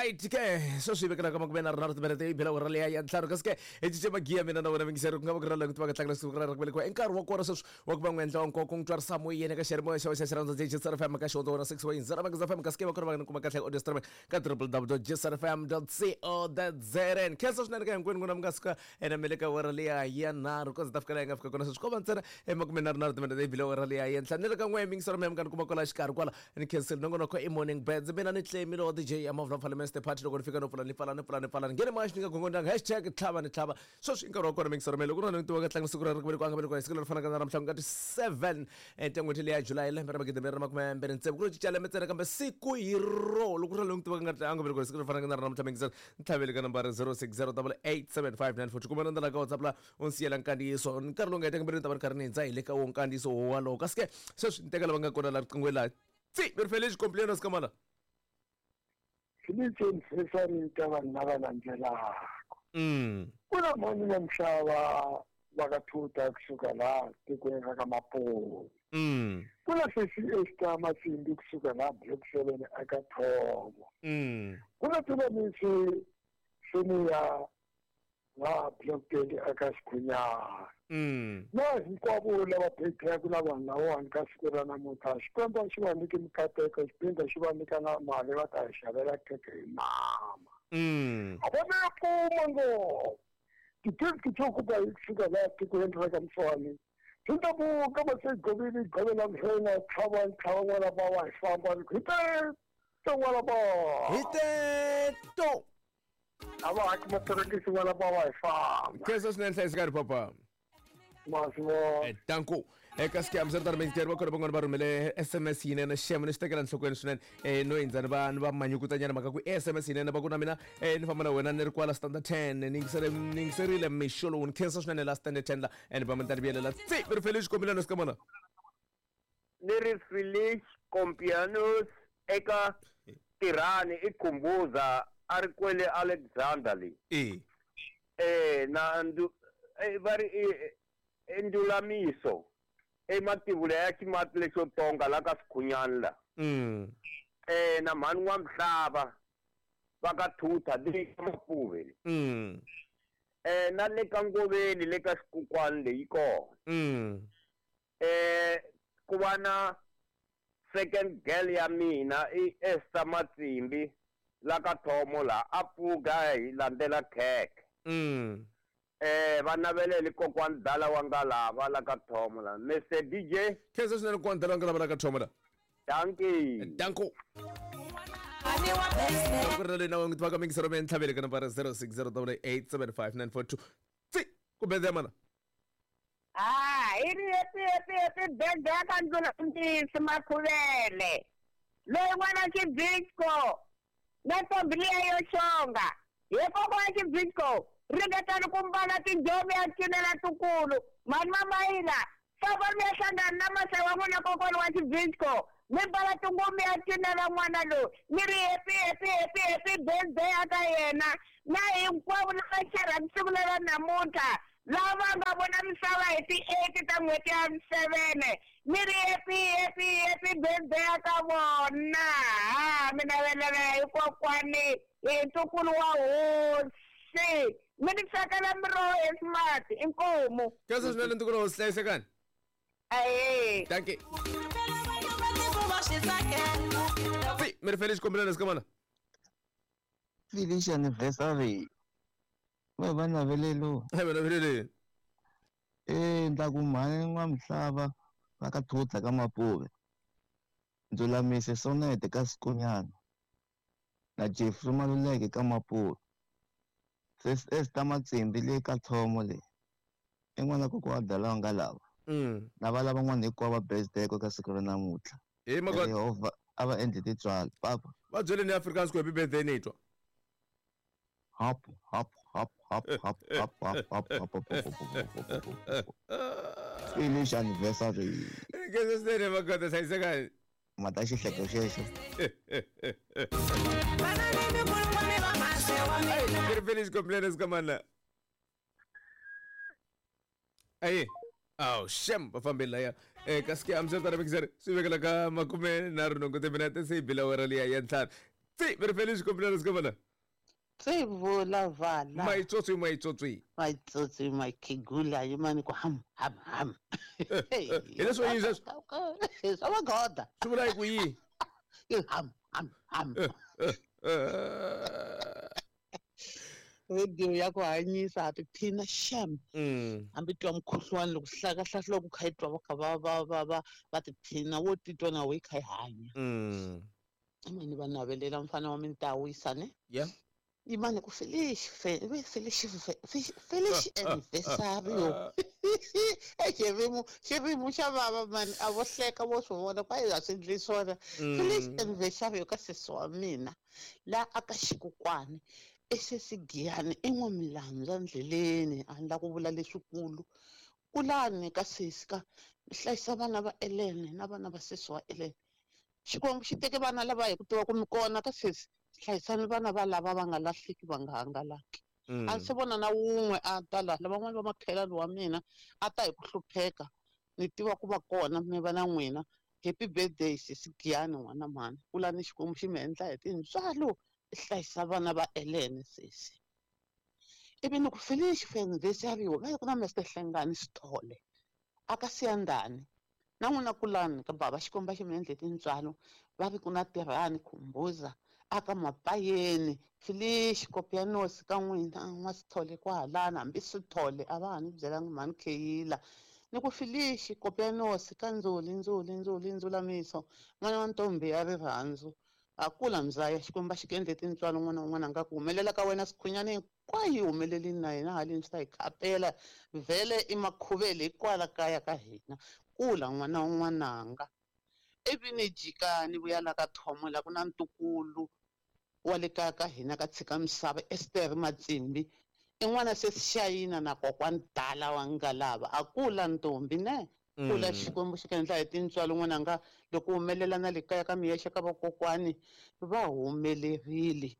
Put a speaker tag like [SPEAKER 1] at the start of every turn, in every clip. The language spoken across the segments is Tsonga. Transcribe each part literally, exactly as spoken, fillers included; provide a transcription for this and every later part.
[SPEAKER 1] Alright ke sweswi hi vekela ka makume nharhu nharhu timinete yi bela awara leya ya ntlhanu kasi ke hi cince magiya mina na wena mingiseri ku nga va ku ri na ku tiva ka tlangela siku ra ku velekiwa i nkarhi wa kona sweswi wa ku va n'wi endla wa nkoka n'wi twarisa moyeni ka xiyanimoya xa xa xirhandza J S R F M ka xihondzo wona six point zero Mageza F M kasi ke va kona va nga kuma kahle audio streaming ka w w w dot j s r f m dot co dot z n. Khensa swinene ka hinkwenu n'wina mi nga suka ene mi le ka awara leya ya nharhu ku ze ta fika laha hi nga fika kona sweswi ko va ntsena emakume nharhu nharhu timinete yi bile awara leya ya ntlhanu ni le ka n'we mingisero mi nga ni kuma kwala xikarhi kwala ni khensile nongonoko i morning birds mina ni tlemile wa D J ya Mavula Parliament Party loko ni fika no pfula ni pfala ni pfula ni pfala ni nghene maxi ni nga gongondanga hashtag tlhava ni tlhava sweswi i nkarhi wa kona mingisero mi loko ni tiva ka tlanga siku ra ri ku velekiwa nga velekiwa hi siku leri fanaka na namuntlha ku nga ti seven en'hweti leya July lembe ra magidi mbirhi na makume mbirhi tsevu ku ro cinca lembe ntsena kambe siku hi ro loko ri loyi tivaka nga a nga velekiwa hi siku leri fanaka na ra namuntlha mingisero ni tlhavele ka nambara zero six zero double eight seven five nine four two kumbe na ka WhatsApp la u ni siyela nkandziyiso nkarhi lowu nga heta kambirhi ni ta va ni karhi ni hindza hi le ka wo nkandziyiso wowalowo kasi ke sweswi ni teka lava nga kona la riqingweni laha tsi mi ri fele xikompleno sikamala
[SPEAKER 2] Felice anniversary ka vanhu lava landzelaka.
[SPEAKER 1] Mm.
[SPEAKER 2] Ku na mhani na mhlava va ka Thuta kusuka laha tikweni ra ka Maponi.
[SPEAKER 1] Mm.
[SPEAKER 2] Ku na sesi Esther Matsimbi kusuka laha Block seven eka Thomo.
[SPEAKER 1] Mm.
[SPEAKER 2] Ku na Tulamisi Sonia laha Block twenty eka Xikhunyana.
[SPEAKER 1] Mm.
[SPEAKER 2] Na hinkwavo lava birthday na vanhu lavawani ka siku ra namuntlha Xikwembu xi va nyike mikateko xipindza xi va nyika na mali va ta hi xavela khekhe hi mama.
[SPEAKER 1] Mm.
[SPEAKER 2] A va na pfuma ngopfu ti-gift to kuba hi kusuka laha tikweni ra ka Mfani swi ta buka va se govile govela mhlena tlhava tlhava n'wana va wa hi famba hi te to n'wana va
[SPEAKER 1] hi te to
[SPEAKER 2] a va haki maperekisi n'wana va wa hi famba
[SPEAKER 1] khensa swinene hlayisekani papa
[SPEAKER 2] Maswo.
[SPEAKER 1] Eh, danko eka scam swi ri mintirho va kona van'wana va rhumele S M S yinene xemo ni xi tekela nhlokweni swinene eh no hindza ni va ni va manyukutanyana mhaka ku S M S yinene va ku na mina eh ni famba na wena ni ri kwala standard ten ni yingisele ni yingiserile mixo lowu ni khensa swinene la standard ten la and va mi ta ni vuyelela tsi mi ri Felix Kombilano sikamana
[SPEAKER 3] ni ri Felix Kompianos eka Tirhani i Khumbuza a ri kwele Alexander le
[SPEAKER 1] eh
[SPEAKER 3] eh na ndu va ri Ndulamiso emativula ya ximati lexo tonga la ka Sikhunyana la
[SPEAKER 1] mm
[SPEAKER 3] eh na mhani wa mhlava va ka Thutha le ka Mapuve
[SPEAKER 1] mm
[SPEAKER 3] eh na le ka Ngoveni le ka Xikukwani leyi kona
[SPEAKER 1] mm
[SPEAKER 3] eh ku va na second girl ya mina i Esther Matsimbi la ka Thomo la a pfuka hi landzela khekhe
[SPEAKER 1] mm
[SPEAKER 3] eh va navelele kokwani dala wa nga lava la ka Thomo la Mister D J
[SPEAKER 1] khensa swinene kokwani dala wa nga lava la ka Thomo la
[SPEAKER 3] dankie
[SPEAKER 1] danko ku ri na leyi na n'wi tivaka mingisero mi ntlhavele ka nambara zero six zero double eight seven five nine four two tsi ku bede ya mana
[SPEAKER 4] ah i ri happy happy happy birthday ka Ndzulamisi Makhuvele loyi n'wana Xibisco na ntombi liya yo xonga hi kokwana Xibisco ringetani ku mbala tinjhovi ya cinela tukulu mhani Mamayila famba mi ya hlangana na masai wa n'wina kokwana wa Xibisco mi mbala tinguvu ya cinela n'wana loyi ni ri happy happy happy happy birthday aka yena na hinkwavo lava xerhaka siku lera namuntlha lava nga vona misava hi ti-eight ta n'hweti ya seven ni ri happy happy happy birthday aka vona ha mi navelela hi kokwani hi ntukulu wa hosi mi ni tsakela miroho ya smart inkomu
[SPEAKER 1] khensa swinene ntukulu wa hosi hlayisekani
[SPEAKER 4] ahe
[SPEAKER 1] dankie tsi mi ri Felix Kombilano sikamana
[SPEAKER 5] Felix anniversary va va navelelo
[SPEAKER 1] va navelele
[SPEAKER 5] eh ndla ku mhani n'wa mhlava va ka Thutha ka Mapuve Ndulamise Sonete ka Sikunyana na Jeffrey Maluleke ka Mapuve Sis Esther Matsimbi le ka Thomo le i n'wana kokwa dala wa nga lava
[SPEAKER 1] mm
[SPEAKER 5] na va lava n'wana hinkwavo va birthday ka siku ra namuntlha
[SPEAKER 1] hi maka
[SPEAKER 5] Yehovha a va endli tintswalo papa
[SPEAKER 1] va byele ni Afrikaans ku happy birthday ni twa
[SPEAKER 5] hop hop hop hop hop hop hop hop hop hop hop hop Felix anniversary
[SPEAKER 1] khensa swinene magoda hlayisekani
[SPEAKER 5] mata xihleko xexo
[SPEAKER 1] Ri Felix Kompleno sikamana aye aw shem va fambile laya eh kasi ke amsel tara mixer swi vekela ka makume nharhu nhungu timinete se yi bila awara liya ya ntlhanu Tsi very feliz cumpleaños kamala.
[SPEAKER 6] Tsi vula vala.
[SPEAKER 1] My tsotsi my tsotsi.
[SPEAKER 6] My tsotsi my kigula yimani ku ham ham ham.
[SPEAKER 1] Hi leswo yini sweswo?
[SPEAKER 6] Swa magoda.
[SPEAKER 1] Swi vula ku yi?
[SPEAKER 6] Ham ham ham. Radio ya ku hanyisa ha tiphina sham. Hambi twa mukhuhlwani loko hlakahlahla loko kha yi twa va kha va va va va va tiphina wo titwa na we kha yi hanya. Imani va navelela mfana wa mintawisa ne?
[SPEAKER 1] Yeah.
[SPEAKER 6] Imani ku feliz feliz feliz aniversário. E xirimo xirimo xa vava mani a vo hleka vo swi vona ku a swi endli swona. Feliz aniversário ka sesi wa mina la aka xikokwani esesigiyani i n'wamilandza ndleleni a ni la ku vula leswikulu kulani ka sesi ka hlayisa vana va Elene na vana va sesi wa Elene. Xikwembu xi teke vana lava hi ku tiva ku mi kona ka sesi hlayisani vana va lava va nga lahleki va nga hangalaki. A ndzi se vona na wun'we a ta laha lavan'wana va makhelwani wa mina a ta hi ku hlupheka ni tiva ku va kona mi va na n'wina. Happy birthday sesi Giyani n'wana mhani kulani Xikwembu xi mi endla hi tintswalo hlayisa vana va Elene sesi. Ivi ni ku feliz aniversário va ku na Mister Hlengani Sithole aka Siyandani na n'wina kulani ka baba Xikwembu xi mi endle tintswalo va vi ku na Tirhani Khumbuza aka Mapayeni feliz kopianos ka n'wina n'wa Sithole kwahalana hambi Sithole a va ha ni byelangi mhani Kheyila ni ku feliz kopianos ka Ndzuli Ndzuli Ndzuli Ndzulamiso n'wana wa ntombi ya rirhandzu a kula mzaya Xikwembu xi ku endle tintswalo n'wana un'wana a nga ku humelela ka wena Sikhunyani hinkwayo yi humelelini na hina haleni swi ta hi khapela vhele i makhuvele hikwala kaya ka hina kula n'wana un'wananga. Ivi ni jika ni vuya la ka Thomo la ku na ntukulu wa le kaya ka hina ka tshika misava Esther Matsimbi i n'wana sesi Xayina na kokwani Dala wa Ngalava a kula ntombi ne kula Xikwembu xi ku endla hi tintswalo n'wananga loko humelela na le kaya ka miyexe ka vakokwani va humelerile.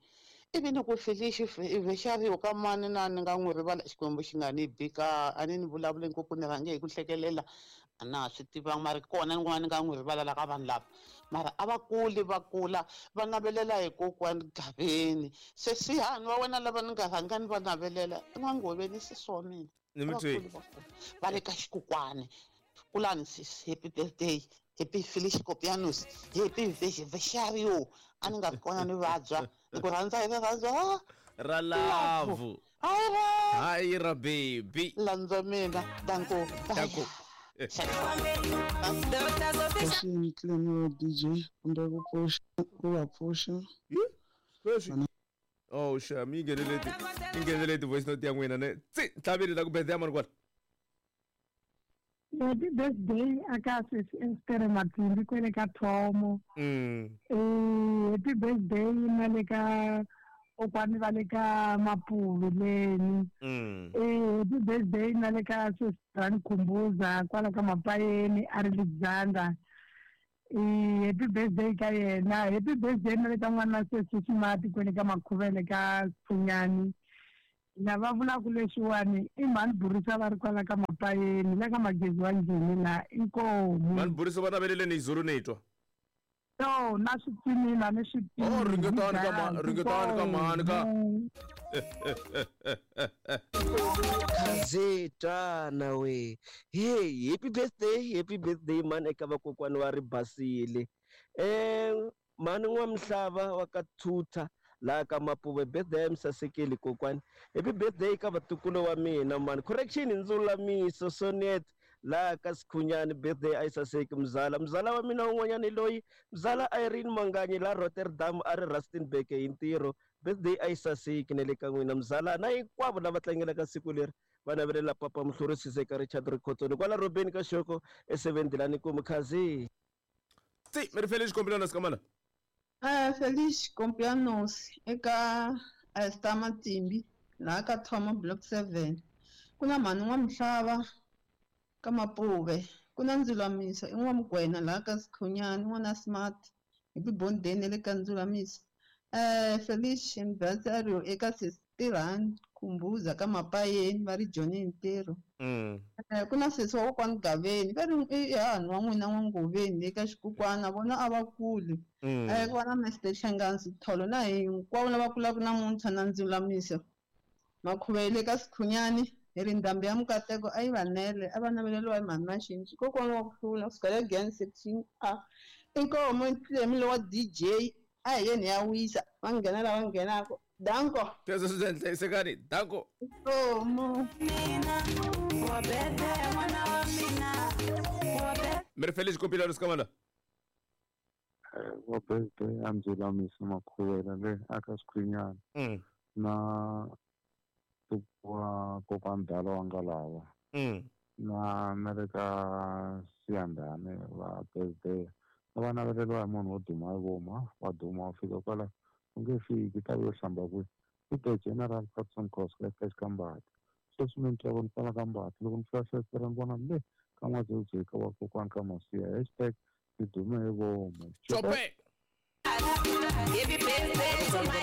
[SPEAKER 6] Ivi ni ku feliz aniversário ka mani na ni nga n'wi rivala Xikwembu xi nga ni bika a ni ni vulavuli ngopfu ni rhange hi ku hlekelela a na ha swi tivanga mara kona n'wana ni nga n'wi rivala la ka vanhu lava mara a va kuli va kula va navelela hi kokwani Gaveni se sihani wa wena lava ni nga rhanga ni va navelela i n'wangoveni sesi wa mina va le ka xikokwani. Kulani sisi happy birthday happy feliz cumpleaños happy aniversário a ni nga ri kona ni vabya ni ku rhandza hi rirhandzu
[SPEAKER 1] ra love hayi ra baby
[SPEAKER 6] landza mina danko
[SPEAKER 1] danko
[SPEAKER 7] D J kumbe ku pfuxa ku va pfuxa
[SPEAKER 1] oh sham yi nghenele yi nghenele ti-voice note ya n'wina ne tsi ntlhaveli la ku birthday ya mani kwala.
[SPEAKER 8] Happy birthday aka sesi Esther Matsimbi kwele ka Thomo. Eh happy birthday na le ka kokwani va le ka Mapuve leni. Eh happy birthday na le ka sesi Rani Khumbuza kwala ka Mapayeni a ri Alexander. Eh happy birthday ka yena. Happy birthday na le ka n'wana sesi Smart kwele ka Makhuvele ka Pfunyani. Lava vulaka leswiwani i mhani Burisa va ri kwala ka Mapayeni la ka Magezi wa Njhini la inkomu.
[SPEAKER 1] Mhani Burisa va naveleleni izulu ni twa.
[SPEAKER 8] No na swipimila ni swipimila.
[SPEAKER 1] Oh ringetani ka mhani ringetani ka mhani ka.
[SPEAKER 9] Khazetana we. Hey happy birthday happy birthday mani eka vakokwani wa ri basile. Eh mhani n'wamihlava wa ka Thutha la ka Mapuve birthday misasekeli kokwani. Happy birthday ka vatukulu wa mina mani. Correction Ndzulamiso Sonet la ka Sikhunyani birthday a yi saseki mzala. Mzala wa mina un'wanyani loyi mzala Irene Manganyi la Rotterdam a ri Rustenburg hi ntirho birthday a yi saseki na le ka n'wina mzala na hinkwavo lava tlangelaka siku leri va navelela papa Muhluri ka Richard Rikhotsoni kwala Robeni ka Xoko e seven Dilani ku Mkhazi.
[SPEAKER 1] Tsi mi ri feliz cumpleaños kamala.
[SPEAKER 7] Uh, feliz cumpleaños eka Esther Matsimbi laha ka Thomo block seven. Ku na mhani n'wamihlava ka Mapuve ku na Ndzulamiso i n'wamugwena laha ka Sikhunyani n'wana Smart happy birthday na le ka Ndzulamiso. Eh feliz aniversário eka sesi Tirhani Khumbuza ka Mapayeni va ri Johnny Ntirho.
[SPEAKER 1] Mm.
[SPEAKER 7] Eh, ku na sesi wa kokwani Gaveni va ri i hanhu wa n'wina n'wa-Ngoveni le ka xikukwana vona a va kuli.
[SPEAKER 1] Mm.
[SPEAKER 7] Eh, ku va na Mister Shangansi Tholo na hinkwavo lava kulaka namuntlha na Ndzulamiso Makhuvele ka Sikhunyani hi ri ndhambi ya Mukateko a yi va nele a va naveleriwa hi mhani Maxinci kokwana wa ku hlula kusuka le Giyani section A inkomo ntlemi wa D J a hi yeni ya wisa va nghena lava nghenaka danko
[SPEAKER 1] Sweswo swi endla hlayisekani danko
[SPEAKER 7] inkomo
[SPEAKER 1] mi ri Felix Kompilano Sikamala
[SPEAKER 10] wa birthday a Ndzulamiso Makhuvela le aka Sikhunyana
[SPEAKER 1] Mm.
[SPEAKER 10] na wa kokwani Dala wa Ngalava
[SPEAKER 1] Mm.
[SPEAKER 10] na na le ka Siyandhani va birthday a va naveleriwa hi munhu wo duma hi voma wa duma wa fika kwala u nge fiki ta yo hlamba kwihi i the General Patson Cosca ka Xikambati sweswi mi ni twa ni pfala ka Mbati loko ni fika festere ni vona le ka N'wa-Dzewudzeka ka wa kokwani ka Masiya hashtag ni dume hi vomu
[SPEAKER 1] Chope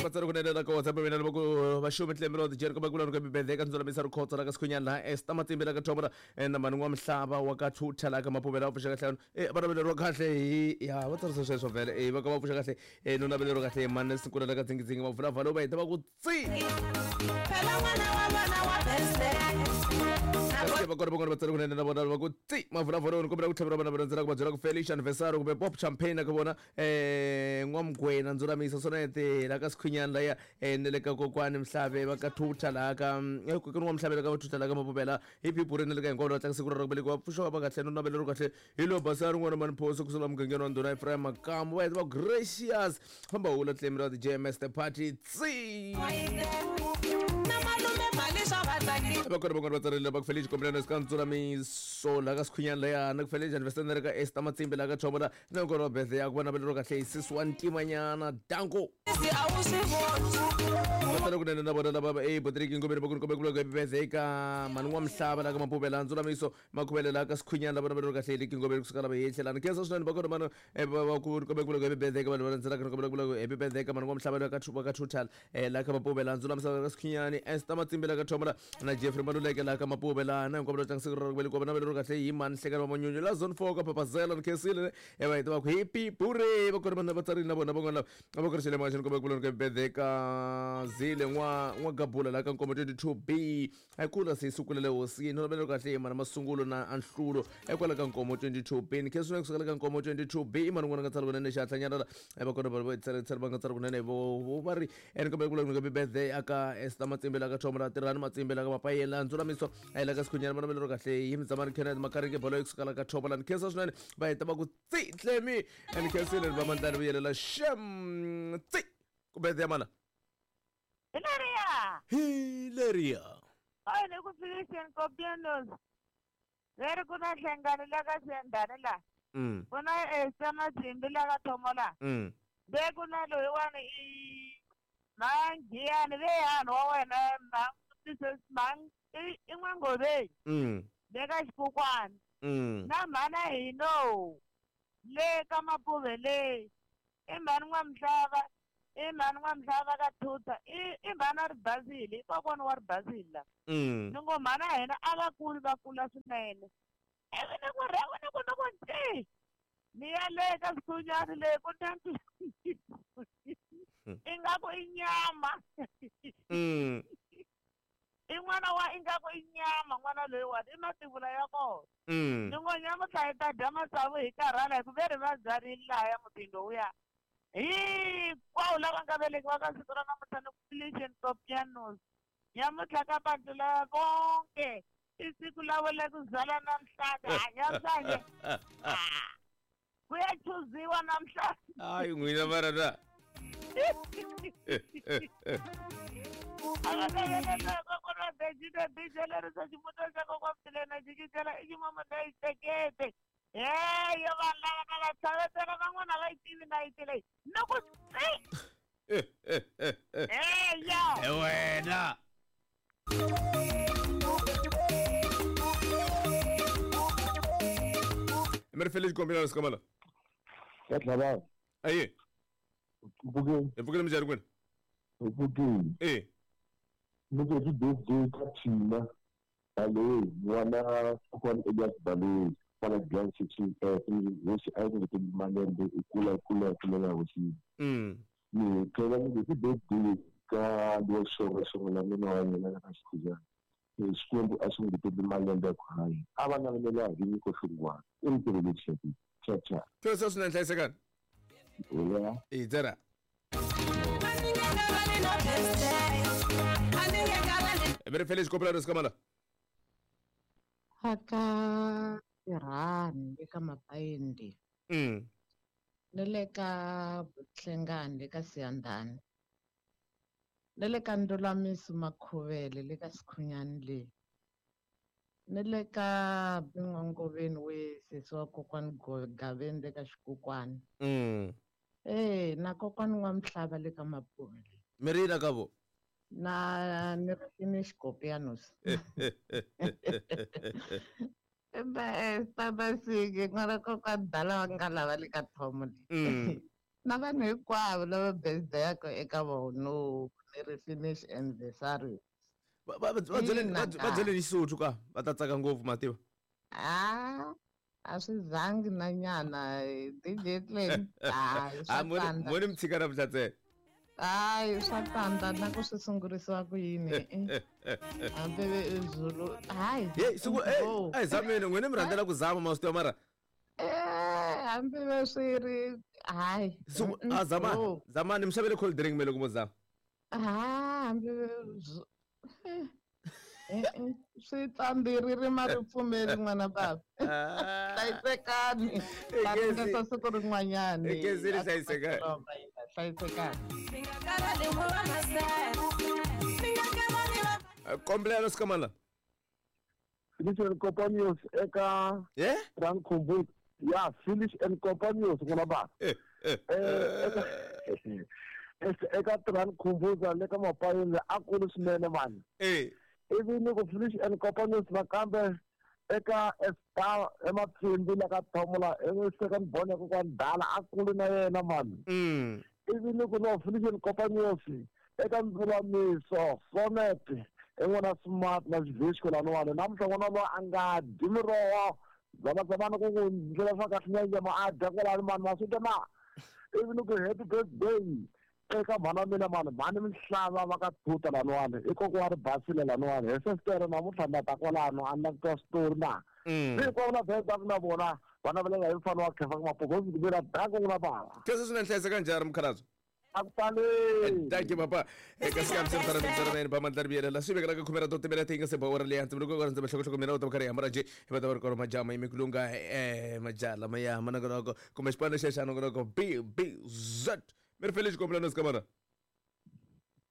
[SPEAKER 1] vatsari kunene la ka WhatsApp mina loko vaxumi tlemelo dijeri kumbe ku loko bibele ka Ndzulamiso Rikhotso la ka Sikhunyana laha Esther Matsimbi la ka Thomora na mani wa Mhlava wa ka Thutha la ka Mapuvela va pfuxa kahle eh va naveleriwa kahle hi ya va tsarisa sweswo vhele eh va ka va pfuxa kahle eh no naveleriwa kahle mani Sinkula la ka Dzingidzingi va vula vhalo va heta va ku tsi va kona va kona vatsari kunene na vona va ku tsi mavulavula ni kombela ku tlhavela vana va rhandzela ku va byela ku Felicia anniversary kumbe pop champagne ka vona eh N'wamgwena Ndzulamiso Sonete la ka Sikhunyana laya eh ne le ka kokwani Mhlave va ka Thutha la ka eh kokwani wa Mhlave la ka Thutha la ka Mapuvela hi phiphu ri ne le ka hinkwavo va tlanga siku ra ku velekiwa pfuxa va kahle no naveleriwa kahle hi lo basari n'wana mani phoso ku sula mugangeni wa ndhuna Ephraim Makamu va heta va gracious famba hula tlemi ra J M S the party tsi va kona van'wana va tsarile va ku Felix Kompilano ka Ndzulamiso la ka Sikhunyana laya na ku Felix anniversary ka Esther Matsimbi la ka Thomora na kona va birthday ya ku va naveleriwa kahle hi sisi wa ntimanyana danko va tsale kunene na vona lava e Patrick Ngobeni va ku kombe ku loko birthday ka mani wa Mhlava la ka Mapuvela Ndzulamiso Makhuvele la ka Sikhunyana lava naveleriwa kahle hi Liki Ngobeni kusuka lava hi tlhelana khensa swinene va kona mani va ku kombe ku loko birthday ka vanhu va landzelaka kombe ku loko happy birthday ka mani wa Mhlava la ka Thupa ka Thutha la ka Mapuvela Ndzulamiso la ka Sikhunyani Esther Matsimbi la ka Thomora na Jeffrey Maluleke la ka Mapuvela na hinkwavo lava tlanga siku ra ku velekiwa va naveleriwa kahle hi mani Hlekani wa Manyunyu la zone four ka Papazela ni khensile e va heta va ku happy bure va kona vanhu va tsarile na vona van'wana lava va korisile maxini kombe ku loko birthday ka Zile n'wa n'wa Gabula la ka Nkomo twenty-two B a kula se sukulele hosini no naveleriwa kahle hi mani Masungulo na Anhlulo ekwala ka Nkomo twenty-two B ni khensile kusukela ka Nkomo twenty-two B i mani n'wana nga tsala kunene xihatlanyana la va kona va tsale tsale va nga tsala kunene vo va ri ene kombe ku loko birthday aka Esther Matsimbi la ka Thomora Tirhani Matsimbi la ka Mapayela Ndzulamiso a la ka Sikhunyana va naveleriwa kahle hi Mzamani Kenneth Makarike bolo kusuka la ka Thomora ni khensa swinene va heta va ku tsi tlemi ni khensile va mandlani vuyelela shem tsi ku birthday ya mana
[SPEAKER 4] Hilaria
[SPEAKER 1] Hilaria
[SPEAKER 4] a ni ku Felician Kopianos leri ku na Hlengani la ka Siyandhani la
[SPEAKER 1] mm
[SPEAKER 4] ku na Esther Matsimbi la ka Thomola
[SPEAKER 1] mm
[SPEAKER 4] ve ku na loyiwani i Manghiyani ve hanhu wa wena mang i i N'wa-Ngoveni
[SPEAKER 1] mm
[SPEAKER 4] le ka Xikukwana
[SPEAKER 1] mm
[SPEAKER 4] na mhana hino le ka Mapuve le i mhani N'wa-Mhlava i mhani N'wa-Mhlava ka Thutha i i mhani wa Ribasile i kokwana wa Ribasile la
[SPEAKER 1] mm
[SPEAKER 4] ni ngo mhana hina a va kuli va kula swinene ivi ni ku rhewu ni ku ni ku nti ni ya le ka Sikhunyani le ku na ingaku i nyama
[SPEAKER 1] mm
[SPEAKER 4] i n'wana wa ingaku i nyama n'wana loyiwani i mativula ya kona
[SPEAKER 1] mm
[SPEAKER 4] ni ngo nyamutlha hi ta dya matsavu hi karhala hi ku ve ri va byarile lahaya mutini lowuya hinkwawo lava nga velekiwa ka siku ra namuntlha ni ku Felician Kopianos nyamutlha ka bantu lava vonke i siku lavo le ku zala namhlanje nyamuhlanje ku ya chuziwa namhlanje
[SPEAKER 1] hayi n'wina mara na
[SPEAKER 4] heyo vanhu lava ka va tlhavetela van'wana va yi tivi nayiti leyi ni ku tsi heyo
[SPEAKER 1] e wena mi ri Felix Kombela Sikamala
[SPEAKER 2] ya tlhava
[SPEAKER 1] aye
[SPEAKER 2] upfukeni
[SPEAKER 1] hi pfukile minjhani kwini
[SPEAKER 2] upfukeni
[SPEAKER 1] e
[SPEAKER 2] Ni ku happy birthday ka Thina Baloyi n'wana kokwani Elias Baloyi kwala Giyani section F hosi a yi ngeteli malembe i kula i kula i kulela hosini. Ni tlhela ni ku happy birthday ka lowa xonga xonga la nuna wa yena ka Xikhujana. Xikwembu a xi ngeteli malembe ya ku hanya a va navelela hi nyiko hlungwana i ntirho lexi cha cha.
[SPEAKER 1] Khensa swinene hlayisekani.
[SPEAKER 2] Yeah.
[SPEAKER 1] I dzera. Very feliz cumpleaños kamala.
[SPEAKER 6] Aka Tirhani le ka Mapayindi.
[SPEAKER 1] Mm.
[SPEAKER 6] Ne le ka Hlengani le ka Siyandhani. Ne le ka Ndulamiso Makhuvele le ka Sikhunyani le. Ne le ka Bin'wangoveni we sesi wa kokwani Gaveni le ka Xikukwani.
[SPEAKER 1] Mm.
[SPEAKER 6] Eh na kokwani wa Mhlava le ka Mapuve.
[SPEAKER 1] Mirina ka vo.
[SPEAKER 6] Na ni ri finish Kopianos. Ba tata sige n'wana kokwani dala wa nga lava le ka thomo le.
[SPEAKER 1] Mm.
[SPEAKER 6] Na vanhu hinkwavo lava birthday ya ko eka vona ni ri finish anniversary.
[SPEAKER 1] Va va va byeleni va byeleni Xisotho ka va ta tsaka ngopfu mativa.
[SPEAKER 6] Ah, a swi zangi na nyana D J Clan. Hayi
[SPEAKER 1] Ah,
[SPEAKER 6] swa
[SPEAKER 1] mo ni
[SPEAKER 6] tsandza.
[SPEAKER 1] mo ni mi tshika namuntlha ntsena.
[SPEAKER 6] Hayi swa tsandza na ku swi sungurisiwa ku yini hambi Zulu hayi.
[SPEAKER 1] Hey, siku eh a hi zameni n'wina mi rhandzela ku zama ma swi tiva mara.
[SPEAKER 6] Eh hambi va swi ri hayi.
[SPEAKER 1] Siku a zamani zamani mi xavele cold drink me loko mo zama.
[SPEAKER 6] Ah hambi eh swi tsandziri ma ri pfumeli n'wana baba. Hlayisekani. Va ringeta siku rin'wanyani.
[SPEAKER 1] Ekezini hlayisekani.
[SPEAKER 6] Hlayisekani.
[SPEAKER 1] Cumpleaños kamala.
[SPEAKER 2] Finish and Companions eka
[SPEAKER 1] yeah
[SPEAKER 2] Frank Kumbu. Yeah, Finish and Companions n'wana baba.
[SPEAKER 1] Eh
[SPEAKER 2] eh eka Tran Khumbuza le ka Mapayeni a kulu swinene mani.
[SPEAKER 1] Eh.
[SPEAKER 2] Ivi ni ku Finish and Companions nakambe eka Star eMatsimbi la ka Thomola e second born ya kokwani Dala a kulu na yena mani.
[SPEAKER 1] Mm.
[SPEAKER 2] Ivi ni ku no Finish and Companions eka Ndzulamiso Sonnet i n'wana smart na Xivhixko laniwani namuntlha n'wana loyi a nga dyi miroho zamazamani ku ku ndlela swa kahle na nyama a dya kwalani mani ma swi twa na. Ivi ni ku happy birthday eka mhana mina mani mhani Mihlava va ka Thuta laniwani i kokwa ri basile laniwani hi sestere namuntlha na ta kwalano a ni la ku twa switori na. Hinkwavo na birthday na vona va navelela hi mfana wa Khefa Mapogo mina danko n'wina bava.
[SPEAKER 1] Khensa swinene hlayiseka njhani mukhalabye.
[SPEAKER 2] A ku tali.
[SPEAKER 1] Thank you papa. Eka sikam se mtara mtara mene pa mandlar biyela la swi vekela ka khumera to timela tinga se bawara le hansi loko ka ndzi hlokohloko mina u ta karhi hambana nje hi va ta va ri kona majama imikulunga eh majala maya manongonoko kumbe xipano xexo nongonoko B B Z. Mi ri feliz cumpleaños kamara.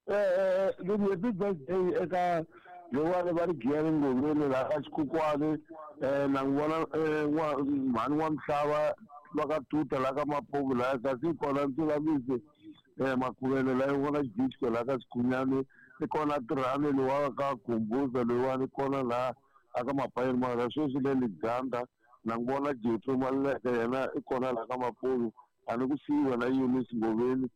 [SPEAKER 2] Eh eh happy birthday eka lowani va ri Giyani Ngoveni la ka Xikukwani eh na n'wi vona mhani wa Mhlava va ka Tuta la ka Mapuve la kasi kona Ndzulamisi eh Makhuvele la vona Jitko la ka Sikhunyani i kona Tirhani lowa ka Khumbuza loyiwani kona la aka Mapayeni mara sweswi le Liganda na n'wi vona Jeffrey Maluleke yena i kona la ka Mapuve a ni ku siyiwa na Eunice Ngoveni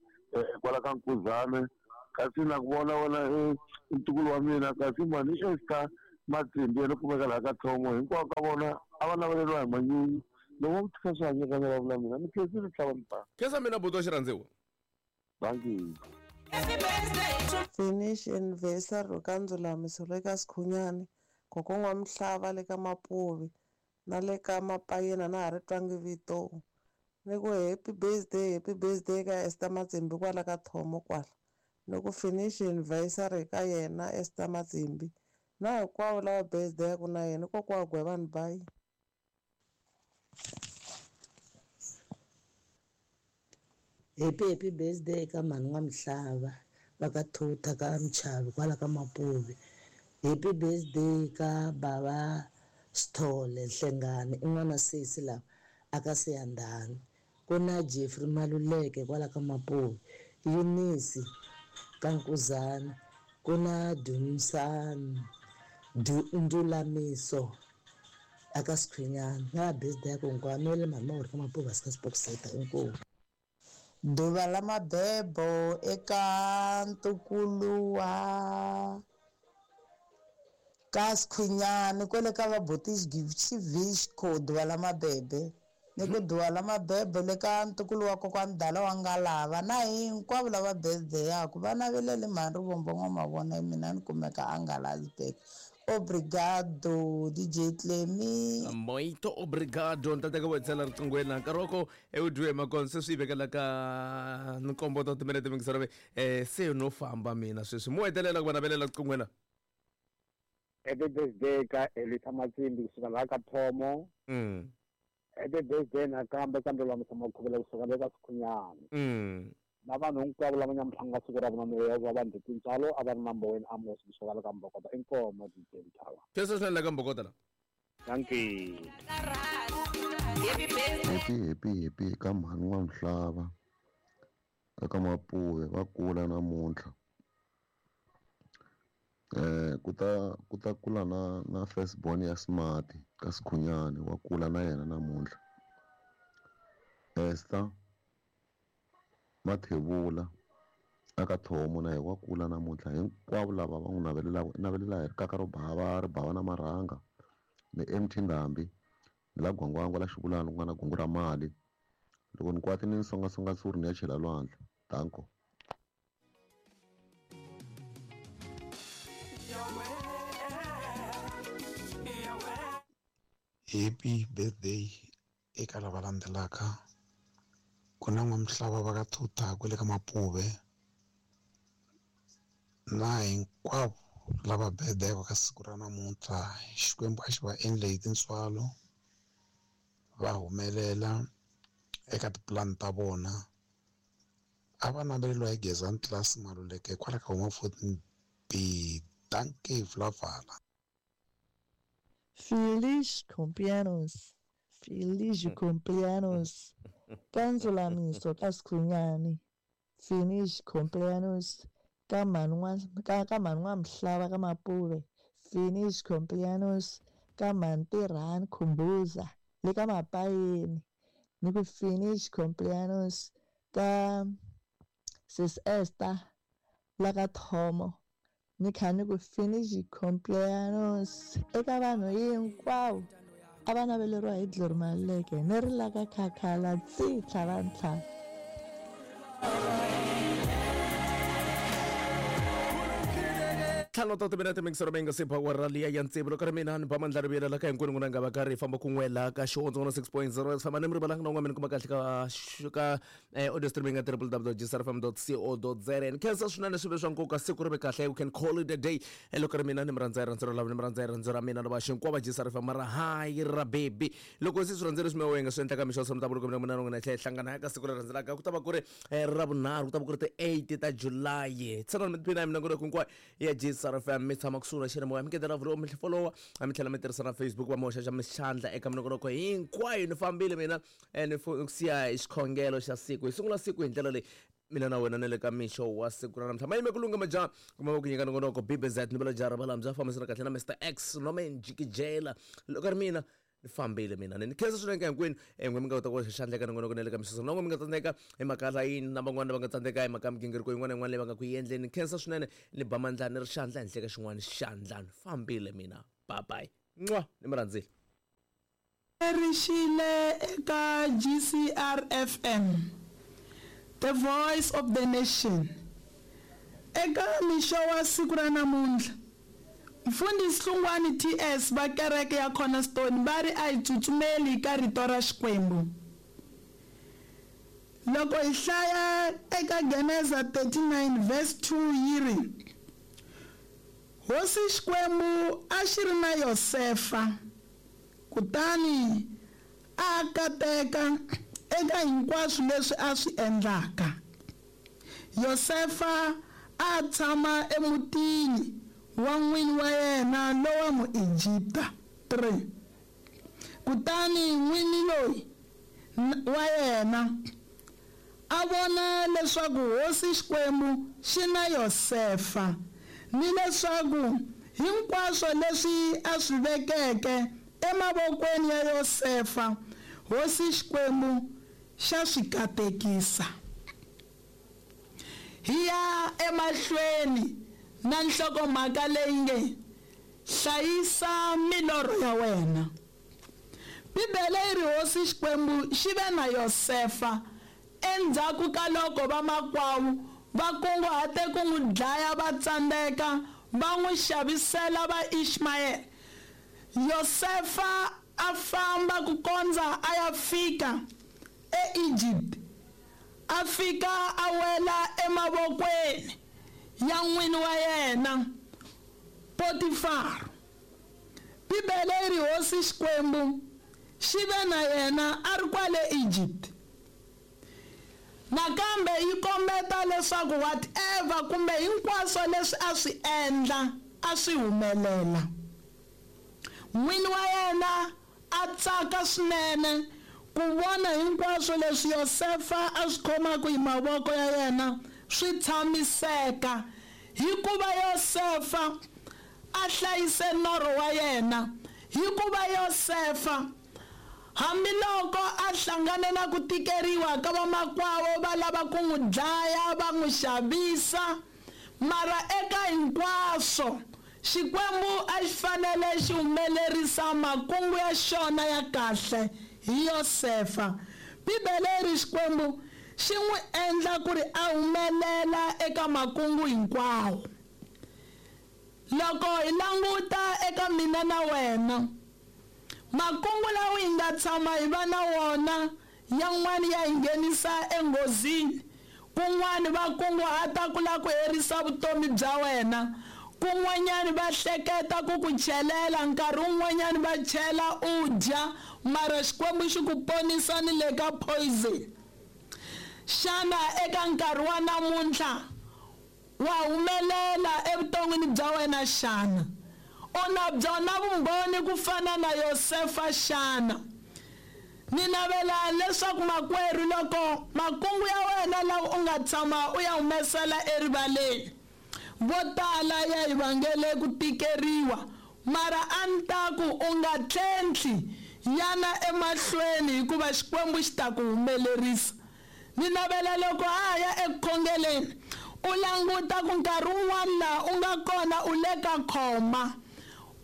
[SPEAKER 2] kwala ka Nkuzane kasi na ku vona wena ntukulu wa mina kasi mani Esther Matsimbi yena kumeka laha ka Thomo hinkwavo ka vona a va naveleriwa hi manyunyu loko va tika swi hanyekanyela vula mina ni khensile tlhava ni ta.
[SPEAKER 1] Khensa mina buti wa xirhandziwa.
[SPEAKER 2] Thank you.
[SPEAKER 11] Finish anniversary ka Ndzulamiso le ka Sikhunyani kokwana wa Mhlava le ka Mapuve na le ka Mapayeni na ha ri twangi vito. Ni ku happy birthday happy birthday ka Esther Matsimbi kwala ka Thomo kwala. Ni ku finish anniversary ka yena Esther Matsimbi na hinkwavo lava birthday ya ku na yena kokwa Gwevani bye.
[SPEAKER 12] Happy happy birthday ka mhani wa Mhlava va ka Thuta ka Mchavi kwala ka Mapuve. Happy birthday ka bava Sithole Hlengani i n'wana sesi lava aka Siyandhani. Ku na Jeffrey Maluleke kwala ka Mapuve, Eunice ka Nkuzana, ku na Dumisani Ndulamiso aka Sikhunyani. Na birthday ya ku hinkwavo mi le mhani Mawuri ka Mapuve a sika Spokseta inkomu.
[SPEAKER 11] Ḓuvha ḽa mabebo eka ntukulu wa
[SPEAKER 12] Ka Sikhunyani kwele ka vabuti Xivixco Duwala Mabebe ni ku Duwala Mabebe le ka ntukulu wa kokwani Dala wa Ngalava na hinkwavo lava birthday-aku va navelele mhani Rivombo N'wamavona mina ni kumeka a Ngalazibek. Obrigado D J Clemi.
[SPEAKER 1] Muito obrigado ntateka wo tsela riqingweni nkarhi wa ko ewu makon se swi vekela ka nkombo ta timinete mingisero eh se no famba mina sweswi mo hetelela ku va navelela riqingweni.
[SPEAKER 10] Happy birthday ka Elisa Matsimbi kusuka laha ka Thomo.
[SPEAKER 1] Mm.
[SPEAKER 10] Happy birthday nakambe kambe lwa Msama Khuvela kusuka le ka Sikhunyani.
[SPEAKER 1] Mm.
[SPEAKER 10] Na vanhu hinkwavo lava nyamuhlanga siku ra vona ya va vanhu tintswalo a va ri na Mboweni Amos kusuka le ka Mbokota inkomo D J Mthava.
[SPEAKER 1] Sweswo swinene la ka Mbokota la.
[SPEAKER 10] Thank you.
[SPEAKER 5] Happy happy happy ka mhani wa Mhlava eka Mapuve va kula namuntlha. Eh kuta kuta kula na na first born ya Smart ka Sikhunyani wa kula na yena namuntlha. Esther Mathebula aka Thomo na yena wa kula namuntlha hinkwavo lava va n'wi navelela navelela hi rikaka ro bava ri bava na marhanga ni M T Ndhambi ni la Gwangwangwa la Xivulani ku nga na gungu ra mali loko ni kwati ni songasonga tsuri ni ya chela lwandle. Danko.
[SPEAKER 13] Happy birthday eka lava landzelaka. Ku na N'wamhlava va ka Thutha kwale ka Mapuve na hinkwavo lava birthday ka siku ra namuntlha. Xikwembu a xi va endle hi tintswalo va humelela eka tipulani ta vona. A va naveleriwa hi Gezani Class Maluleke kwala ka Home fourteen B. Dankie Vlavala.
[SPEAKER 14] Feliz cumpleaños. Feliz cumpleaños. Ka Ndzulamiso ka Sikhunyani. Feliz cumpleaños ka mhani ka ka mhani N'wamhlava ka Mapuve. Feliz cumpleaños ka mhani Tirhani Khumbuza le ka Mapayeni. Ni ku feliz cumpleaños ka sis Esther la ka Thomo. Ni kha ni ku feliz cumpleaños eka vanhu hinkwavo a va naveleriwa hi Glory Maluleke ni ri la ka Khakhala tsi tlhava ntlhanu.
[SPEAKER 1] Ntlhanu ta timinete mingisero mi nga se ba wa rali ya ntsevu loko ri mina ni ba mandla ri vuyela ka hinkwenu n'wina nga va karhi hi famba kun'we laha ka Xihondzo one six point zero famba ni mi rivalanga na un'wana mi ni kuma kahle ka ka audio streaming ya w w w dot g s r f m dot co dot z a. Ni khensa swinene swi ve swa nkoka siku ri ve kahle we can call it a day. Loko ri mina ni mi rhandza hi rhandzu ra lava ni mi rhandza hi rhandzu ra mina lava xinkwava G S R F M mara hayi ra baby loko se swi rhandzele swi mewe nga swi endla ka mixo swa mutavulo mina mina n'wina hi hlangana ka siku leri rhandzelaka ku ta va ku ri ra vunharhu ku ta va ku ri ti eight ta July tshana mi tiphina hi minongonoko hinkwayo ya G S R F M mi tshama kusuhi na xiyanimoya mi ngetela vholo mi followa mi tlhela mi tirhisa na Facebook va mi hoxa xa mixandla eka minongonoko hinkwayo. Ni fambile mina ni siya hi xikhongelo xa siku hi sungula siku hi ndlela leyi mina na wena ni le ka mixo wa siku ra namuntlha mayime ku lungha majaha kuma va ku nyika nongonoko B B Z ni vula jara va bya fambisana kahle na Mister X Norman Jikijela loko ri mina ni fambile mina ni khensa swinene ka hinkwenu n'we mi nga kota ku xandla eka nongonoko na le ka mixo na n'we mi nga tsandzeka hi mhaka layini na van'wana va nga tsandzeka hi mhaka ya migingiriko yin'wana na yin'wana leyi va nga ku yi endleni. Ni khensa swinene ni ba mandla ni ri xandla henhla ka xin'wana xandla ni fambile mina bye bye nwa ni mi rhandzile.
[SPEAKER 15] Rixile eka G C R F M, the voice of the nation. Eka mixo wa siku ra namuntlha Mfundhisi Hlungwani T S va kereke ya Cornerstone va ri a hi tsutsumeli ka rito ra Xikwembu. Loko hi hlaya eka Geneza thirty-nine verse two yi ri Hosi Xikwembu a xi ri na Yosefa kutani a kateka eka hinkwaswo leswi a swi endlaka. Yosefa a tshama emutini wa n'wini wa yena lowa Muegipta. three Kutani n'wini loyi wa yena a vona leswaku Hosi Xikwembu xi na Yosefa ni leswaku hinkwaswo leswi a swi vekeke emavokweni ya Yosefa Hosi Xikwembu xa swi katekisa. Hi ya emahlweni na nhlokomhaka leyi nge Hlayisa milorho ya wena. Bibele yi ri hosi Xikwembu xi ve na Yosefa endzhaku ka loko vamakwavo va kunguhate ku n'wi dlaya va tsandzeka va n'wi xavisela va Ishmael. Yosefa a famba ku kondza a ya fika eEgypt. A fika a wela emavokweni ya n'wini wa yena Potifar. Bibele yi ri hosi Xikwembu xi ve na yena a ri kwale Egypt. Nakambe yi kombeta leswaku whatever kumbe hinkwaswo leswi a swi endla a swi humelela. N'wini wa yena a tsaka swinene ku vona hinkwaswo leswi Yosefa a swi khomaka hi mavoko ya yena swi tshamiseka, hikuva Yosefa a hlayise norho wa yena, hikuva Yosefa hambiloko a hlangane na ku tikeriwa ka vamakwavo va lava ku n'wi dlaya va n'wi xavisa, mara eka hinkwaswo Xikwembu a xi fanele xi humelerisa makungu ya xona ya kahle hi Yosefa. Bibele yi ri Xikwembu xi n'wi endla ku ri a humelela eka makungu hinkwawo. Loko hi languta eka mina na wena, makungu lawa hi nga tshama hi va na wona yan'wani ya hi nghenisa enghozini, kun'wani va kunguhata ku lava ku herisa vutomi bya wena, kun'wanyani va hleketa ku ku chelela, nkarhi wun'wanyani va chela u dya, mara Xikwembu xi ku ponisa ni le ka poison. Xana eka nkarhi wa namuntlha wa humelela evuton'wini bya wena xana? U na byona vumbhoni ku fana na Yosefa xana? Ni navela leswaku makwerhu loko makungu ya wena lawa u nga tshama u ya humesela erivaleni, vo tala ya hi vangele ku tikeriwa, mara a ni ta ku u nga tlhentlhi, yana emahlweni hikuva Xikwembu xi ta ku humelerisa. Ni navela loko ha ya ekukhongeleni u languta ku nkarhi wun'wana laha u nga kona u le ka khoma,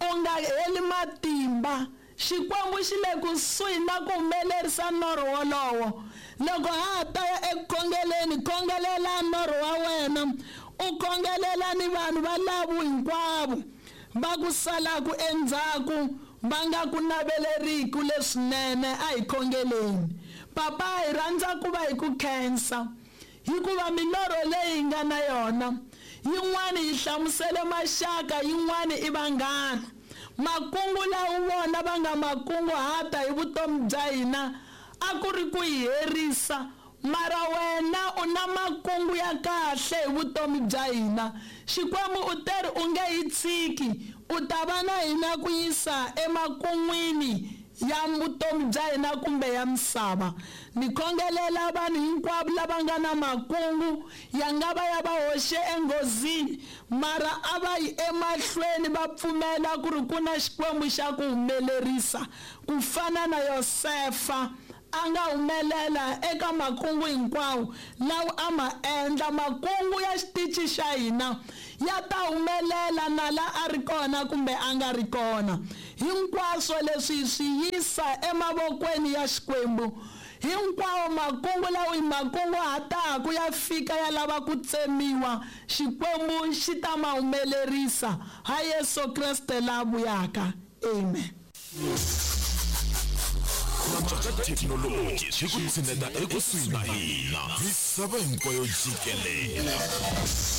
[SPEAKER 15] u nga heli matimba. Xikwembu xi le kusuhi na ku humelerisa norho wolowo. Loko ha ta ya ekukhongeleni, khongelela norho wa wena, u khongelela ni vanhu va lavo hinkwavo va ku salaka endzhaku va nga ku naveleriki leswinene. A hi khongeleni. Papa, hi rhandza ku va hi ku khensa hikuva milorho leyi hi nga na yona yin'wani yi hlamusele maxaka, yin'wani i vanghana. Makungu lawa vona va nga makunguhata hi vutomi bya hina a ku ri ku hi herisa, mara wena u na makungu ya kahle hi vutomi bya hina. Xikwembu u teri u nge hi tshiki, u ta va na hina ku yisa emakun'wini ya vutomi bya hina kumbe ya misava. Ni khongelela vanhu hinkwavo lava nga na makungu ya nga va ya va hoxe enghozini, mara a va yi emahlweni va pfumela ku ri ku na Xikwembu xa ku humelerisa ku fana na Yosefa a nga humelela eka makungu hinkwawo lawa a ma endla. Makungu ya xitichi xa hina ya ta humelela na la a ri kona kumbe a nga ri kona. Hinkwaswo leswi swi yisa emavokweni ya Xikwembu. Hinkwawo makungu lawa hi makunguhataka ya fika ya lava ku tsemiwa, Xikwembu xi ta ma humelerisa ha Yesu Kreste la vuyaka. Amen.
[SPEAKER 16] Ka thekinoloji swi ku tshineta ekusuhi na hina misava hinkwayo jikelele.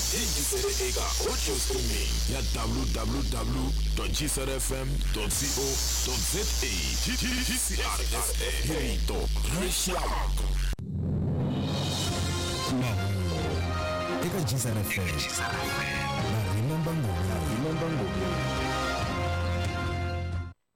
[SPEAKER 16] Yingisele eka audio streaming ya w w w dot g c r f m dot co dot z a. G C R F M, rito ra rixaka.
[SPEAKER 17] Mahungu eka G C R F M na Remember Ngobeni.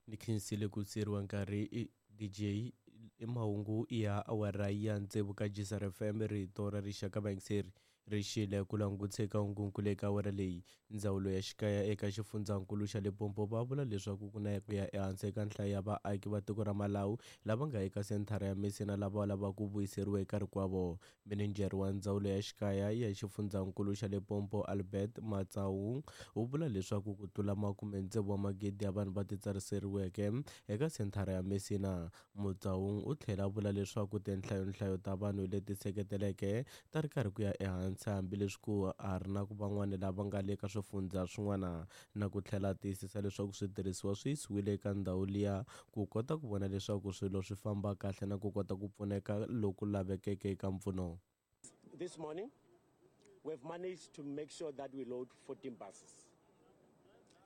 [SPEAKER 18] Ni khensile ku tseriwa nkarhi D J i mahungu ya awara ya tsevu ka G C R F M, rito ra rixaka vayingiseri. Rixile ku langutisa eka hungunkulu eka awara leyi. Ndzawulo ya xikaya eka xifundzankulu xa Limpopo va vula leswaku ku na ku ya ehansi eka nhlayo ya vaaki va tiko ra Malawi lava nga eka senthara ya Messina lava lavaka ku vuyiseriwa eka rikwavo. Mininjhere wa ndzawulo ya xikaya ya xifundzankulu xa Limpopo Albert Matsaung u vula leswaku ku tlula makume tsevu wa magidi ya vanhu va titsariseriweke eka senthara ya Messina. Matsaung u tlhela a vula leswaku tinhlayonhlayo ta vanhu leti seketeleke ta ri karhi ku ya ehansi hambileswi ku ha ri na ku van'wana lava nga le ka swifundza swin'wana, na ku tlhela a tiyisisa leswaku switirhisiwa swi yisiwile eka ndhawu liya ku kota ku vona leswaku swilo swi famba kahle na ku kota ku pfuneka loku lavekeke eka mpfuno.
[SPEAKER 19] This morning, we've managed to make sure that we load fourteen buses.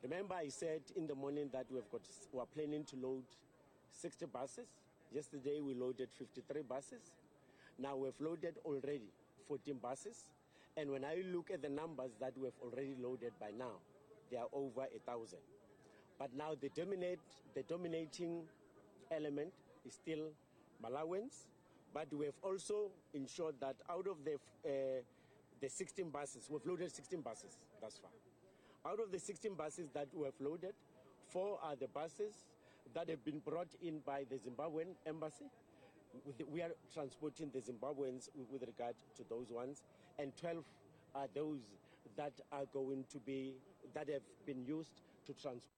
[SPEAKER 19] Remember, I said in the morning that we've got, we're planning to load sixty buses. Yesterday, we loaded fifty-three buses. Now we've loaded already fourteen buses. And when I look at the numbers that we've already loaded by now, they are over a thousand. But now the, dominate, the dominating element is still Malawians. But we have also ensured that out of the, uh, the sixteen buses, we've loaded sixteen buses thus far. Out of the sixteen buses that we have loaded, four are the buses that have been brought in by the Zimbabwean embassy. We are transporting the Zimbabweans with regard to those ones, and twelve are those that are going to be, that have been used to transport.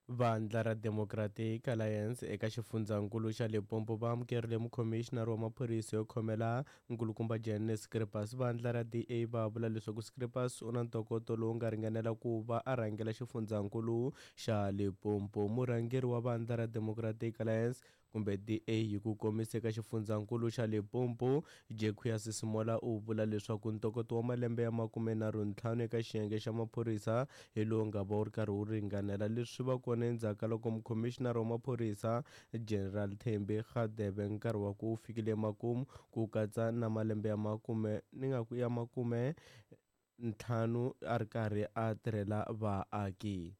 [SPEAKER 18] Vandla ra Democratic Alliance eka xifundzankulu xa Limpopo va amukerile mukhomixinari wa maphorisa yo khomela nkulukumba Jane Scripas. Vandla ra D A va vula leswaku Scripas u na ntokoto lowu nga ringanela ku va a rhangela xifundzankulu xa Limpopo. Murhangeri wa vandla ra Democratic Alliance kumbe D A hi ku komisa eka xifundzankulu xa Limpopo, Jacques Simola u vula leswaku ntokoto wa malembe ya makumenharhu ntlhanu eka xiyenge xa maphorisa hi lowu nga va wu ri karhi wu ringanela. Leswi va kona endzhaku ka loko mukhomixinari wa maphorisa General Thembi Radebe nkarhi wa ku fikile emakumu ku katsa na malembe ya makume ni nga ku ya makume ntlhanu a ri karhi a tirhela vaaki.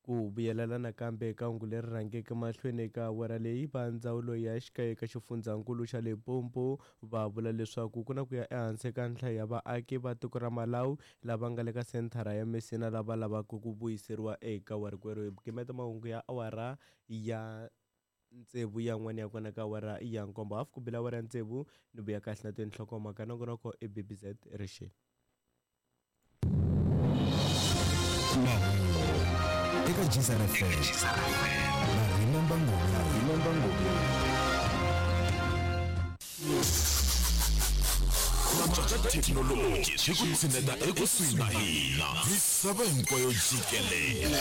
[SPEAKER 18] Ku vuyelela nakambe eka hungu leri rhangeke mahlweni eka awara leyi, va ndzawulo ya xikaya eka xifundzankulu xa Limpopo va vula leswaku ku na ku ya ehansi eka nhlayo ya vaaki va tiko ra Malawi lava nga le ka senthara ya Messina lava lavaka ku vuyiseriwa eka warikwerhu. Hi gimeta mahungu ya awara ya tsevu yan'wana ya kona ka awara ya nkombo hafu ku bela awara ya tsevu ni vuya kahle na tinhlokomhaka nongonoko i B B Z Rixile.
[SPEAKER 17] Eka G S R F M na Remember Ngoma, Remember Ngoma.
[SPEAKER 16] Thekinoloji swi ku tshineta ekusuhi na hina misava hinkwayo jikelele.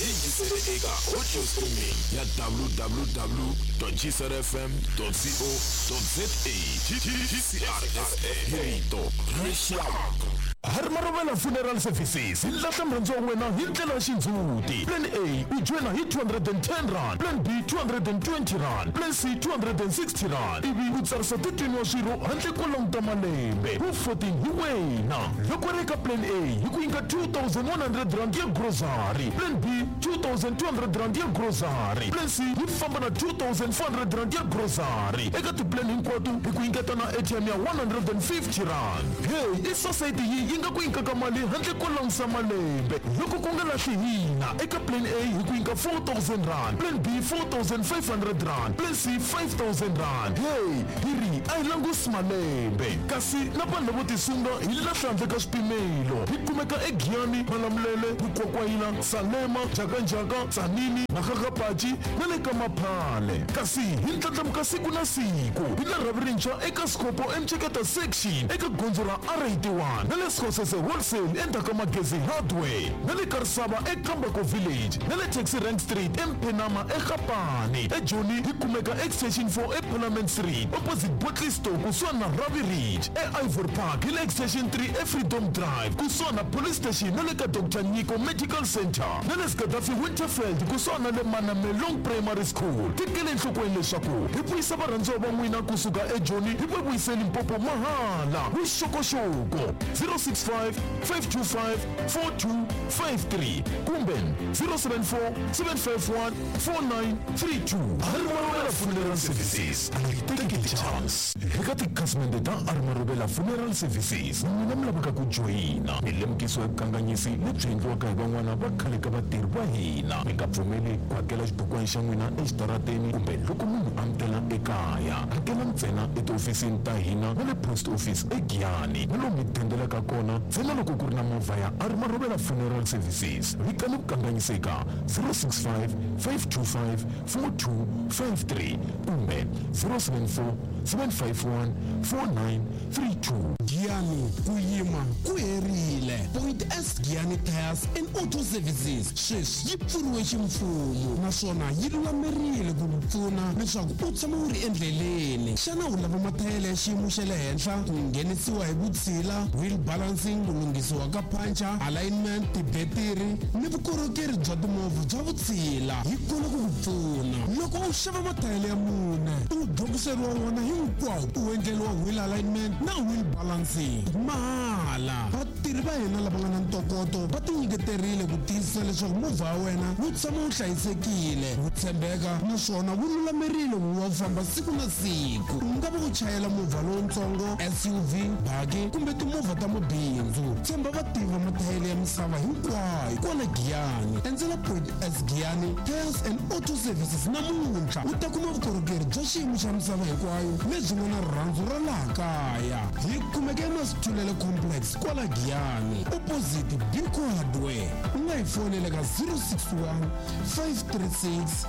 [SPEAKER 16] Yingisele eka audio streaming ya w w w dot g s r f m dot co dot z a. G C R F M, rito rixaka.
[SPEAKER 20] Harmarovela Funeral Services hi lahla murhandziwa wa wena hi ndlela ya xindzhuti. Plan A u joyina hi two hundred and ten rand, Plan B two hundred and twenty rand, Plan C two hundred and sixty rand, ivi u tsarisa thirteen wa swirho handle ko languta malembe. Wu fourteen hi wena. Loko ri eka Plan A hi ku nyika two thousand one hundred rand ya grocery, Plan B two thousand two hundred rand ya grocery, Plan C yi famba na two thousand four hundred rand ya grocery. Eka tiplan hinkwato hi ku nyiketa na A T M ya one hundred and fifty rand. Hey, i society yi yi nga ku nyikaka mali handle ko langutisa malembe. Loko ku nga lahli hina eka Plan A hi ku nyika four thousand rand, Plan B four thousand five hundred rand, Plan C five thousand rand. Hey, hi ri a hi langusi malembe. Kasi na vanhu lavo tisunga hi lahla handle ka swipimelo. Hi kumeka eGiyani, Malamulele, Mukwakwayila, Salema, Jakanjaka, Tzaneen, Makgakgapatši na le ka Maphale. Kasi hi ndlandlamuka siku na siku hi na rhavi rintshwa eka Sikopo eMtsheketa section eka gondzo ra R eighty-one na le Skhosese Wholesale endzhaku ka Magezi Hardware na le Karisava eKambako Village na le Taxi Rank Street eMphenama eGapane. eJoni hi kumeka Extension four eParliament Street opposite Bottle Store kusuhani na Ravi Ridge. E-Ivory Park hi le Extension three eFreedom Drive kusuhani na Police Station na le ka Doctor Nyiko Medical Center na le Gaddafi Winterfeld kusuhani na le Manamelong Primary School. Tekele enhlokweni leswaku hi vuyisa varhandziwa va n'wina kusuka eJoni hi va vuyise Limpopo mahala. Vuxokoxoko zero six five five two five four two five three kumbe zero seven four seven five one four nine three two. Harmarovela Funeral Services, a hi tekeli chance. Eka tikhasimende ta Armarobela Funeral Services, n'wina mi lavaka ku joyina mi lemukisiwa hi vukanganyisi lebyi endliwaka hi van'wana va khale ka vatirhi va hina. Mi nga pfumeli ku hakela xibukwana xa n'wina exitarateni kumbe loko munhu a mi tela ekaya. Hakela ntsena etihofisini ta hina na le post office eGiyani na lomu mi dendelaka kona ntsena loko ku ri na movha ya Armarobela Funeral Services. Vikani vukanganyisi eka zero six five five two five four two five three kumbe zero seven four seven five one four nine three two.
[SPEAKER 21] Giyani ku yima ku herile. Point S Giyani Tires and Auto Services sweswi yi pfuriwe ximfumo naswona yi lulamerile ku ku pfuna leswaku u tshama u ri endleleni. Xana u lava mathayele ya xiyimo xa le henhla, ku nghenisiwa hi vutshila, wheel balancing, ku lunghisiwa ka puncher, alignment, tibetiri ni vukorhokeri bya timovha bya vutshila? Hi kona ku ku pfuna. Loko u xava mathayele ya mune, u dokiseriwa wona hinkwawo, u endleriwa wheel alignment na wheel balancing mahala. Vatirhi va hina lava nga na ntokoto va tinyiketerile ku tiyisisa leswaku movha wa wena wu tshama wu hlayisekile, wu tshembeka naswona wu lulamerile ku va wu famba siku na siku. U nga va u chayela movha lowutsongo, S U V, baki kumbe timovha ta mabindzu. Tshemba vativi va mathayele ya misava hinkwayo kwala Giyani. Endzela Point S Giyani Tires and Auto Services namuntlha u ta kuma vukorhokeri bya xiyimo xa misava hinkwayo lebyi nga na rirhandzu ra laha kaya. Hi kumeka eMasithulele Complex kwala Giyani, opposite Binco Hardware. U nga hi fonela ka zero six one five three six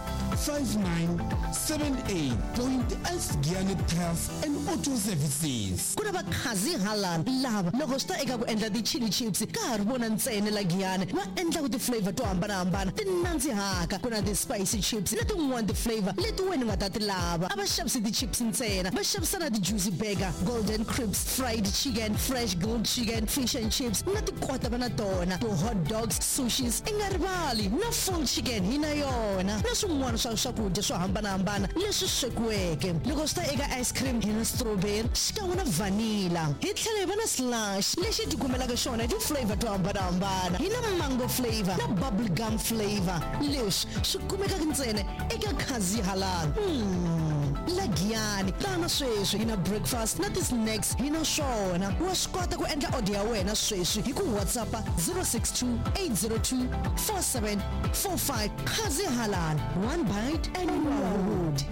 [SPEAKER 21] five nine seven eight. Point S Giyani Tires and Auto Services.
[SPEAKER 22] Ku na vakhazi halal lava loko swi ta eka ku endla ti-chili chips ka ha ri vona ntsena la Giyani va endlaku ti-flavor to hambanahambana ti nandzihaka. Ku na ti-spicy chips na tin'wana ti-flavor leti wena u nga ta ti lava. A va xavisi ti-chips ntsena, va xavisa na ti-juicy burger, golden crisps, fried chicken, fresh grilled chicken, fish and chips na tikota va na tona, ti-hot dogs, sushis, i nga rivali na full chicken hi na yona na swin'wana swa swakudya swo hambanahambana leswi swekiweke. Loko swi ta eka ice cream hi na strawberry xikan'we na vanilla. Hi tlhela hi va na slush lexi ti kumelaka xona hi ti-flavor to hambanahambana. Hi na mango flavor na bubble gum flavor. Leswi swi kumekaka ntsena eka Khazi Halal. Mm, la Giyani tana sweswi hi na breakfast na ti-snacks hi na swona. Wa swi kota ku endla order ya wena sweswi hi ku WhatsApp zero six two eight zero two four seven four five. Khazi Halal, one bite and you are good.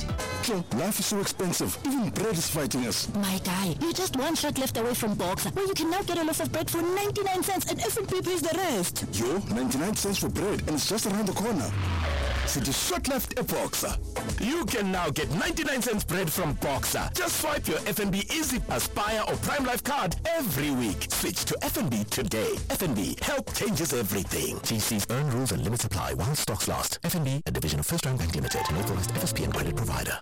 [SPEAKER 23] Life is so expensive. Even bread is fighting us.
[SPEAKER 24] My guy, you're just one shot left away from Boxer, where you can now get a loaf of bread for ninety-nine cents and F and B pays the rest.
[SPEAKER 23] Yo, ninety-nine cents for bread, and it's just around the corner. City shot left a Boxer.
[SPEAKER 16] You can now get ninety-nine cents bread from Boxer. Just swipe your F N B Easy Aspire or Prime Life card every week. Switch to F N B today. F N B, help changes everything. G C's earn rules and limits apply while stocks last. F N B, a division of First Round Bank Limited, an authorized F S P and credit provider.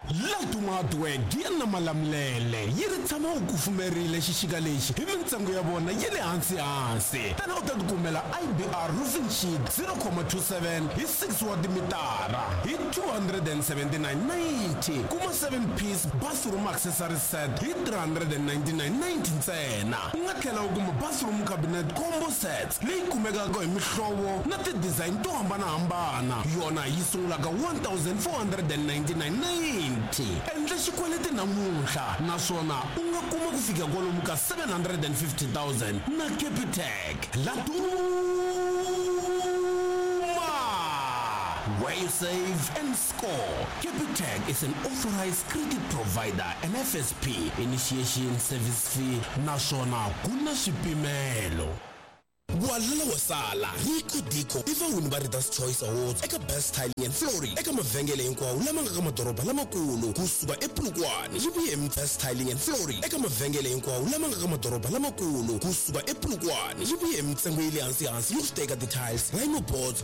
[SPEAKER 21] Laduma Hardware Giyani na Malamulele yi ri tshama u kufumerile xixika lexi hi mintsengo ya vona ya le hansi hansi. Tana u ta tikumela I B R roofing sheet zero comma two seven hi six wa timitara hi two hundred and seventy-nine ninety. Kuma seven piece bathroom accessory set hi three hundred and ninety-nine ninety ntsena. U nga tlhela u kuma bathroom cabinet combo sets leyi kumekaka hi mihlovo na ti-design to hambanahambana. Yona yi sungulaka one thousand four hundred and ninety-nine ninety. Endla xikweleti namuntlha naswona u nga kuma ku fika kwalomu ka seven hundred and fifty thousand na Capitec. Laduma, where you save and score. Capitec is an authorized credit provider and F S P initiation service fee naswona ku na swipimelo. Walala wa sala Rico Dico i vawini va Readers Choice Awards eka Best Tiling and Flooring eka mavhengele hinkwawo lama nga ka madoroba lamakulu kusuka ePolokwane. Yi vuye hi Best Tiling and Flooring eka mavhengele hinkwawo lama nga ka madoroba lamakulu kusuka ePolokwane. Yi vuye hi mintsengo ya le hansi hansi yo swi teka ti-tiles, rhino boards